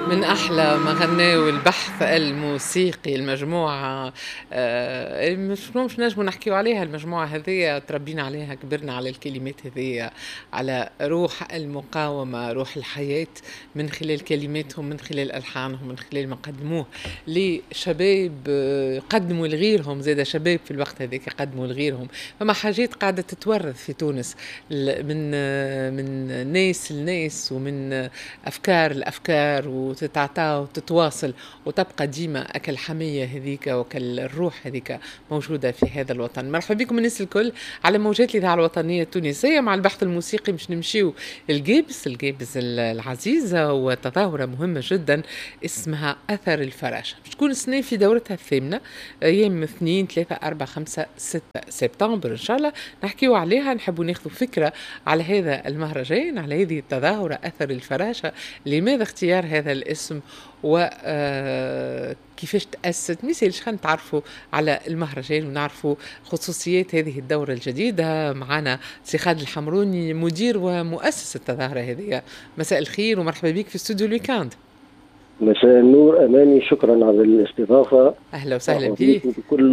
من أحلى ما غناو البحث الموسيقي المجموعة، مش نجمو نحكيو عليها. المجموعة هذية تربينا عليها، كبرنا على الكلمات هذية، على روح المقاومة، روح الحياة، من خلال كلماتهم، من خلال ألحانهم، من خلال ما قدموه لشباب، قدموا لغيرهم زاد شباب في الوقت هذاك قدموا لغيرهم. فما حاجات قاعدة تتورث في تونس من ناس لناس ومن أفكار لأفكار، وتتعطى وتتواصل وتبقى ديما أكل حمية هذيك وكل الروح هذيك موجودة في هذا الوطن. مرحبا بكم الناس الكل على موجات الإذاعة الوطنية التونسية مع البحث الموسيقي. مش نمشيو الجابس، الجابس العزيزة، وتظاهرة مهمة جدا اسمها أثر الفراشة، باش تكون السنة في دورتها الثامنة، أيام 2 3 4 5 6 سبتمبر إن شاء الله نحكيو عليها. نحبوا ناخذ فكرة على هذا المهرجان، على هذه التظاهرة أثر الفراشة، لماذا اختيار هذا الاسم وكيفاش تأسست. ميسالش خلينا نتعرفوا على المهرجان ونعرفوا خصوصيات هذه الدورة الجديدة. معنا سي خالد الحمروني، مدير ومؤسس التظاهرة هذه. مساء الخير ومرحبا بك في استوديو ال week-end. مساء النور أماني، شكرا على الاستضافة. أهلا وسهلا بك وبكل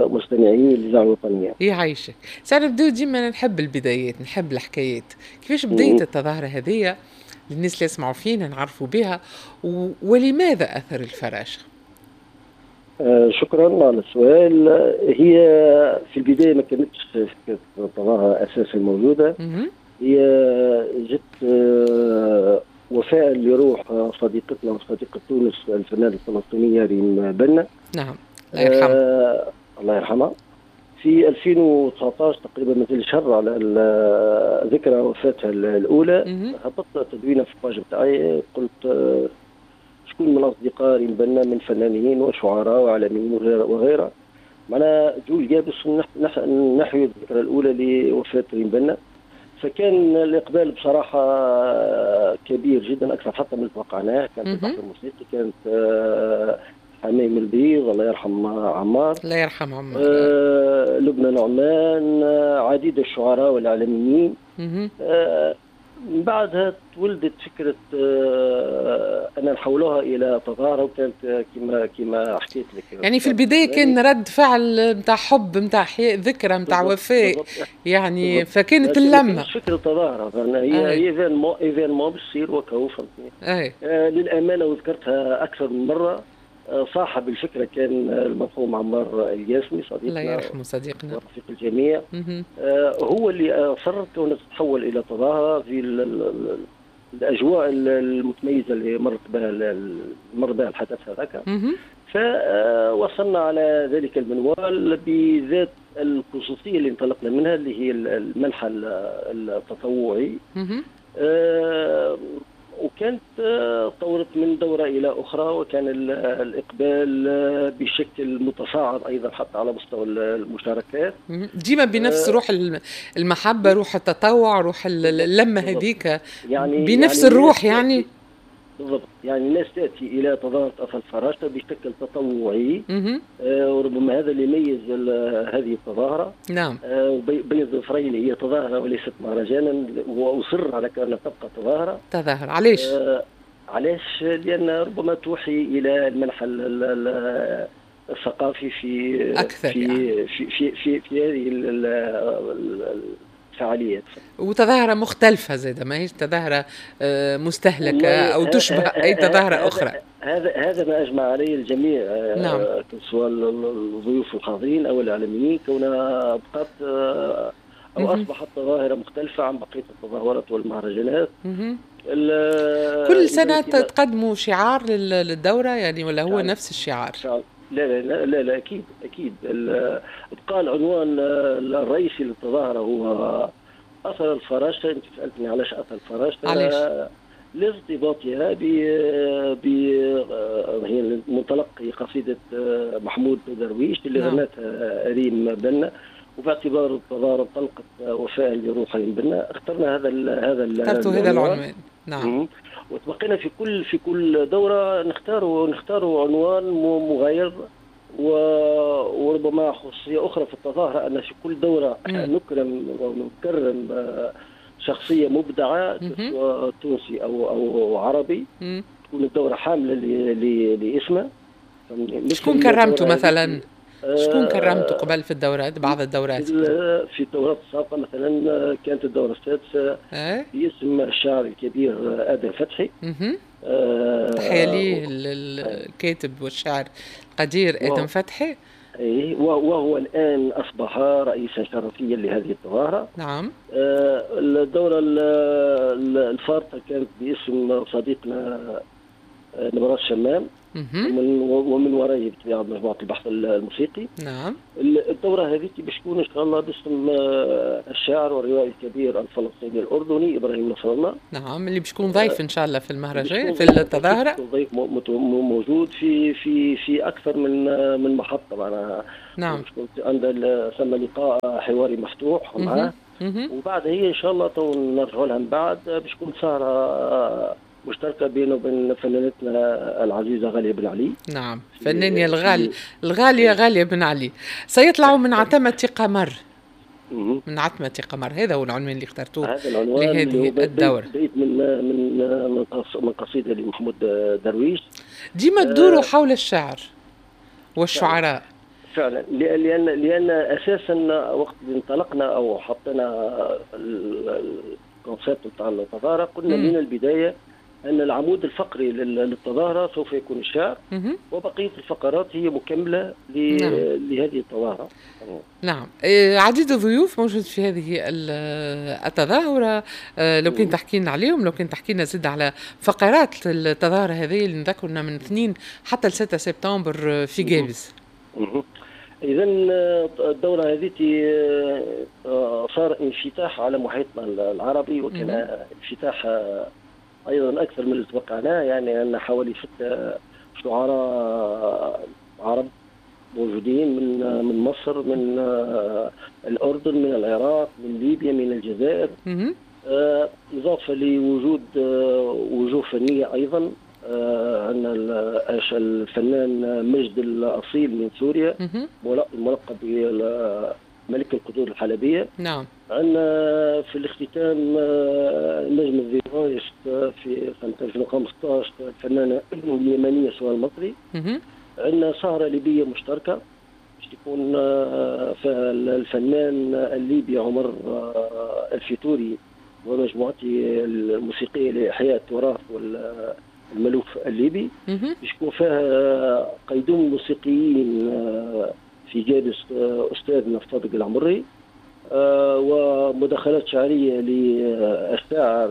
مستمعين الإذاعة الوطنية. يعيشك. ساعة نبداو، ديما نحب البدايات، نحب الحكايات. كيفاش بديت التظاهرة هذه للناس اللي يسمعوا فينا نعرفوا بها، ولماذا أثر الفراشة؟ شكرا على السؤال. هي في البداية ما كانتش فكرة التظاهرة أساسا موجودة. هي جت وفاء لروح صديقتنا وصديقة تونس الفنانة الفلسطينية ريم بنا. نعم، الله يرحمها. الله يرحمها. في 2019 تقريبا، مثل شهر على ذكرى وفاتها الأولى، هبطت تدوينة في ال page بتاعي، قلت شكون من أصدقاء ريم بنا من فنانين وشعراء وإعلاميين وغيرها، معنا جول جابس نحوي الذكرى الأولى لوفاة ريم بنا. فكان الإقبال بصراحة كبير جدا، أكثر حتى من اللي توقعناه. كانت البحث الموسيقي، كانت حميم البيض الله يرحم عمار، الله يرحم عمار، لبنى نعمان، عديد الشعراء والإعلاميين. من بعدها تولدت فكرة أن نحولوها إلى تظاهرة، وكانت كما حكيت لك. يعني في البداية كان رد فعل نتاع حب، نتاع ذكرى، نتاع وفاء، يعني بالضبط. فكانت اللمة مش فكرة تظاهرة، هي événement باش تصير وكهو، فهمتني. للأمانة وذكرتها أكثر من مرة، صاحب الفكرة كان المرحوم عمار الياسمي، صديقنا الله يرحمه، صديقنا ورفيق الجميع. هو اللي أصر كونها تتحول إلى تظاهرة في الأجواء المتميزة اللي مر بها الحدث هذاك. فوصلنا على ذلك المنوال بذات الخصوصية اللي انطلقنا منها، اللي هي المنحى التطوعي. وكانت طورت من دورة إلى أخرى، وكان الإقبال بشكل متصاعد أيضا حتى على مستوى المشاركات. ديما بنفس روح المحبة، روح التطوع، روح اللمة هذيك، يعني بنفس يعني الروح يعني بالضبط. يعني الناس تأتي إلى تظاهرة أثر الفراشة بشكل تطوعي. وربما هذا اللي يميز هذه التظاهرة. نعم. بين ظفرين هي تظاهرة وليست مهرجانا، وأصر على كونها تبقى تظاهرة. تظاهرة علاش؟ علاش؟ لأن ربما توحي إلى المنحى الثقافي في أكثر في يعني. في في في, في هذه الفعاليات. وتظاهرة مختلفة زادة، ما هيش تظاهرة مستهلكة أو تشبه أي تظاهرة أخرى. هذا ما أجمع عليه الجميع. نعم. سواء الضيوف الحاضرين أو الإعلاميين، كونها بقت أو أصبحت تظاهرة مختلفة عن بقية التظاهرات والمهرجانات. كل سنة تقدموا شعار للدورة يعني، ولا هو نفس الشعار؟ لا لا لا لا، أكيد أكيد. بقى العنوان الرئيسي للتظاهرة هو أثر الفراشة. أنت سألتني علاش أثر الفراشة؟ علاش؟ لارتباطها ب هي منطلق قصيدة محمود درويش اللي غنتها ريم بنا، وباعتبار التظاهرة انطلقت وفاء لروح ريم بنا، اخترنا هذا العنوان. نعم. وتبقينا في كل دورة نختاروا عنوان مغاير، وربما خصوصية أخرى في التظاهرة أن في كل دورة نكرم ونكرم شخصية مبدعة سواء تونسي أو عربي. تكون الدورة حامله لاسمه. شكون كرمته مثلا؟ شكون كرمته قبل في الدورات، بعض الدورات؟ في الدورات السابقة مثلا كانت الدورة السادسة باسم الشاعر الكبير ادم فتحي. تحية ليه الكاتب والشاعر القدير ادم فتحي. اي، وهو الان اصبح رئيسا شرفيا لهذه التظاهرة. نعم. الدورة الفارطه كانت باسم صديقنا نبراس شمام، ومن ورائه بطبيعة مجموعة البحث الموسيقي. نعم. الدورة هذه باش تكون ان شاء الله باسم الشاعر والروائي الكبير الفلسطيني الاردني ابراهيم نصر الله. نعم، اللي باش يكون ضيف ان شاء الله في المهرجان، في التظاهرة. ضيف موجود في في في اكثر من محطة معناها. نعم. عند ثم لقاء حواري مفتوح معاه، وبعد هي ان شاء الله تو نرجعوا لها من بعد، باش تكون سهره مشتركة بينه وبين فنانتنا العزيزة غالية بن علي. نعم، فنانة الغالية غالية بن علي. سيطلع من عتمة قمر. من عتمة قمر، هذا هو العنوان اللي اخترتوه لهذه الدورة. بيت من من من قصيدة لمحمود درويش. ديما تدوروا حول الشعر والشعراء. فعلا، لأن أساسا وقت اللي انطلقنا أو حطينا ال concept بتاع التظاهرة، قلنا من البداية أن العمود الفقري للتظاهرة سوف يكون الشعر، وبقية الفقرات هي مكملة لهذه التظاهرة. نعم. عديد الضيوف موجود في هذه التظاهرة، لو كان تحكي لنا عليهم، لو كان تحكي لنا زد على فقرات التظاهرة هذه اللي نذكرنا من 2 حتى 6 سبتمبر في قابس. إذا الدورة هذه صار انفتاح على محيطنا العربي، وكان انفتاح ايضا اكثر من اللي توقعناه، يعني ان حوالي 6 شعراء عرب موجودين من مصر، من الاردن، من العراق، من ليبيا، من الجزائر، اضافه لوجود وجوه فنية ايضا. عندنا الفنان مجد الاصيل من سوريا، الملقب بملك القدور الحلبية. نعم. عندنا في الاختتام نجم الزيرايس في سنة 2015 الفنانة اليمنية سوال المصري. عندنا سهرة ليبية مشتركة باش تكون فيها الفنان الليبي عمر الفيتوري ومجموعته الموسيقية لإحياء التراث والملوف الليبي. باش يكون فيها قيدوم الموسيقيين في جالس أستاذنا صادق العمري، ومداخلات شعرية للشاعر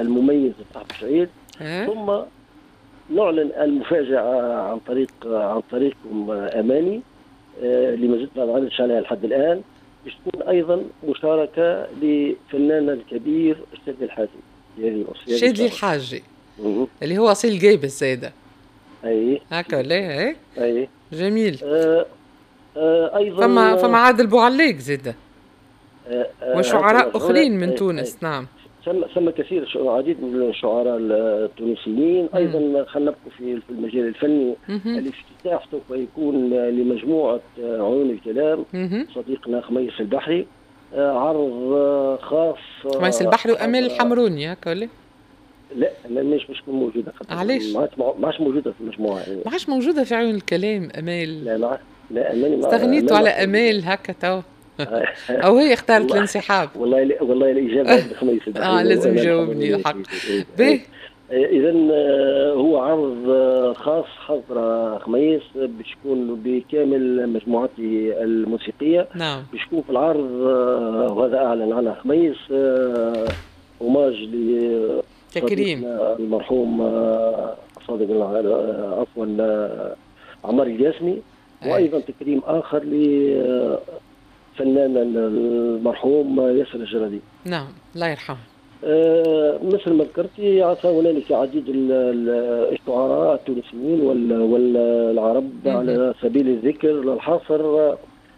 المميز صاحب الشعير. ثم نعلن المفاجأة عن طريقكم أماني، اللي ما زلت ما نعلنش عليها لحد الآن، باش تكون أيضا مشاركة لفناننا الكبير الشاذلي الحاجي. الشاذلي الحاجي اللي هو أصيل قابس زايدة. أي هكا ولا؟ أي جميل. ايضا فما عادل بوعليق زاده وشعراء اخرين من تونس. نعم. ثم كثير، عديد من الشعراء التونسيين. ايضا خلينا نبقوا في المجال الفني. الافتتاح سوف يكون لمجموعة عيون الكلام، صديقنا خميس البحري، عرض خاص. خميس البحري وامال الحمروني هكا ولا؟ لا، امال مش موجودة. علاش؟ ما عادش موجودة في المجموعة يعني. ما عادش موجودة في عيون الكلام امال. لا لا، امال استغنيتوا على امال هكا تو، او هي اختارت الانسحاب؟ والله الاجابة عند خميس البحري. لازم يجاوبني الحق. باهي. اذا هو عرض خاص حضر خميس باش يكون بكامل مجموعته الموسيقية. نعم. باش يكون في العرض، وهذا اعلن عنه خميس، hommage تكريم المرحوم صادق، عفوا، عمار الجاسمي، وايضا تكريم اخر لفنان المرحوم ياسر الجرادي. نعم، الله يرحمه. مثل ما ذكرتي هنالك عديد الشعراء التونسيين والعرب. على سبيل الذكر للحصر،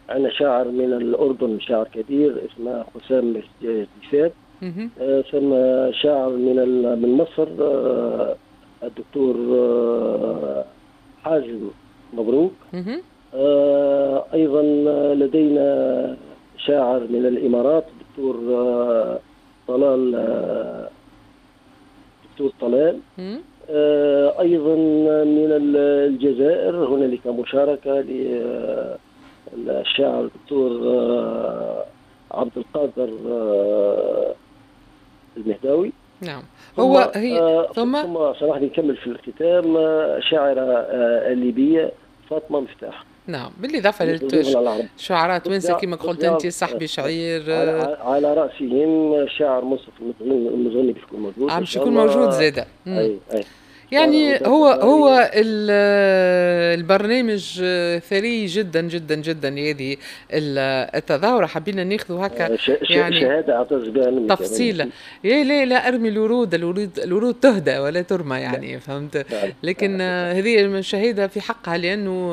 عندنا شاعر من الاردن، شاعر كبير اسمه حسام جديفات. ثم شاعر من مصر، الدكتور حازم مبروك. أيضا لدينا شاعر من الإمارات، الدكتور طلال، دكتور طلال. ايضا من الجزائر هنالك مشاركة للشاعر الدكتور عبد القادر المهداوي. نعم، هو هي ثم سامحني نكمل في الختام، شاعرة الليبية فاطمة مفتاح. نعم، بالإضافة للشعراء توانسة كما قلت أنت، صاحبي شعير. على رأسهم الشاعر منصف المزغني باش يكون موجود. باش يكون موجود زادة. أي. يعني هو البرنامج ثري جدا جدا جدا. هذه التظاهرة حبينا ناخذ هكا يعني شهادة اعتز بها منك. تفصيلة. يا لا لا، ارمي الورود، الورود الورود تهدى ولا ترمى يعني، فهمت؟ لكن هذه شهادة في حقها لأنه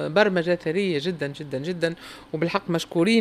برمجة ثرية جدا جدا جدا، وبالحق مشكورين.